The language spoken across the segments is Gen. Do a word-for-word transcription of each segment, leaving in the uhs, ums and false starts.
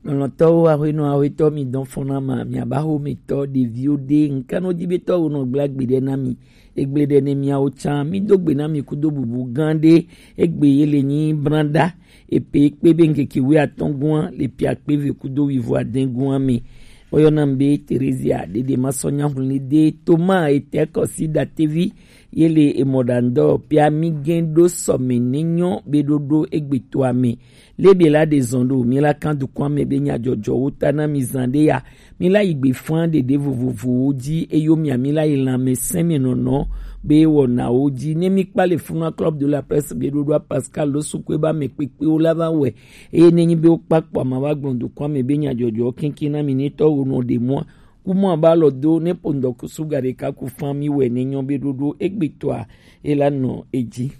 Lɔlɔ̃tɔwo, aƒenɔ, aƒetɔ, mi dɔn fɔna ma, mi aba xo mi tɔ ɖeviwo ɖe, ŋkanɔ dzi be tɔ wo nɔ gblẽ agbe ɖe na mi. Egblẽ ɖe ne miawo tsã, mi do gbe na mi kudo bubu gã ɖe, egbe ye le nyi branda, epe kpe be ŋkeke wuiatɔ̃ gua, le pia kpe ve kudo wuivo adẽ gua me. Woyɔna mi be Teresia, ɖeɖe ma sɔ nya ŋlẽ ɖe, Toma, etɛ kɔsi datevi, ye le emɔ ɖandɔ, pia mi gẽ ɖo sɔme ne nyɔ be ɖoɖo egbetoa me. Lebe la ɖe zɔn ɖo, mi la kan dukɔa me be nyadzɔdzɔwo ta na mi zan ɖe ya. Mi la yi gbe fã ɖeɖe vovovowo dzi, eyo mia mi la yi lãmesẽ me nɔnɔ be wɔnawo dzi. Ne mi kpa le Funua Club de la Presse be ɖoɖoa Pascal lo sukue ba me kpekpewo la va wɛ. Eye ne nyi be wo kpa kpɔ ma va gblɔ dukɔa me be nyadzɔdzɔwo keŋkeŋ na mi ne tɔ wo nɔ ɖe mɔa. Kumɔ ba lɔ do ne po ŋdɔ kusu ga ɖeka ku fã mi wɛ ne nyɔ be ɖoɖo egbetoa e la nɔ edzi.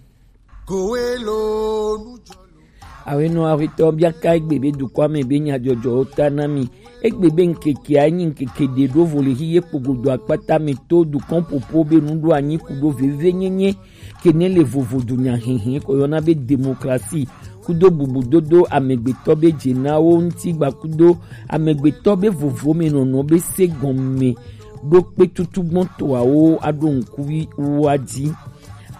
Awenɔ aƒetɔ bia ka egbe be dukɔa me be nyadzɔdzɔwo ta na mi. Egbe be ŋkekea nyi ŋkeke ɖe ɖo vo le xi ye kpogodo akpata me to dukɔn popo be nuɖo anyi kudo veve nyenye. Ke ne le vovo dunya hehe ko yɔna be demokrasi kudo bubudodo amegbetɔ be dzenawo ŋuti gba kudo amegbetɔ be vovo me nɔnɔ be se gɔme ɖo kpe tutu gbɔn toawo aɖo ŋkuvi woa dzi.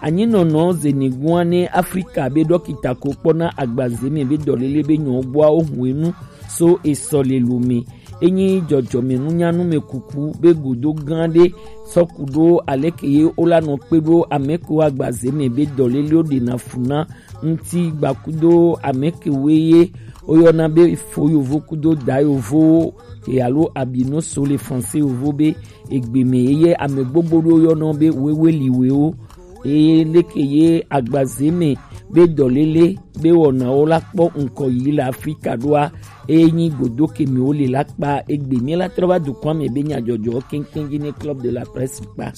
Anyinɔnɔ zenegua ne Afrika be ɖɔkita ko kpɔna agbaze me be dɔlele be nyɔ gbɔa wo hu enu so esɔ le lu me. Enyi dzɔdzɔme nunyanu me kuku be gudo gã ɖe sɔ ku ɖo aleke ye wola nɔ kpe ɖo ameko agbaze me be dɔlelewo ɖena fu na ŋuti gba kudo ameke woe ye woyɔna be fo yovo kudo da yovowo ke alo abino so le français yovo be egbe me ye ame gbogbo ɖo yɔnɔ be weweliwewo. Eye leke ye agbaze me be dɔlele be wɔnawo la kpɔ ŋkɔ yi le Afrika ɖoa, eye nyi godo ke mi wo le la kpa egbe mi la trɔ va dukɔa me be nyadzɔdzɔ keŋkeŋ dzi ne Club de la Presse kpa.